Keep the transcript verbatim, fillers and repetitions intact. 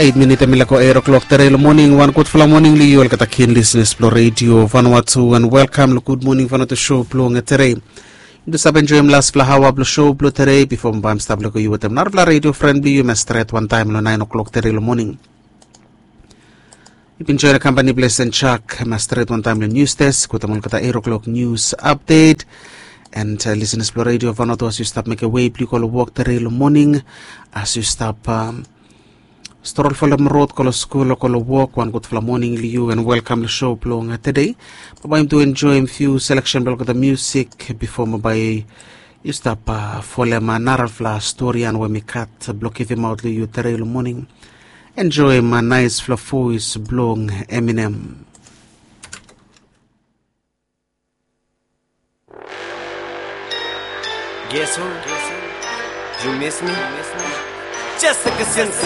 Eit minit em i laik go eit o'klok tere long moning. Wan gudfala moning long yu olgeta kin lisenas blong redio Vanuatu, and welkam long Gud Moning Vanuatu show blong tere. Yumi tu save enjoim lasfala aoa blong show blong tere bifo mi bae mi stap lego yu wetem narafala redio fren blong yu em i stret wantaem long naen o'klok tere long moning. Yu bin join kampani blong Sen Chak em i stret wantaem long nius desk wetem olgeta eit o'klok nius apdet. And lisenas blong redio Vanuatu, as yu stap mekem wei blong yu go long wok tere long moning, as yu stap strol folem rod go long skul o go long wok, wan gudfala moning long yu and welkam long show blong tede. Bambae yumi tu enjoim fiu seleksen blong olgeta musik bifo bambae yu stap folem narafala storian we mi gat blong givimaot long yu tere long moning. Enjoim naesfala voes blong Eminem. Guess who? You miss me? Jessica Simpson.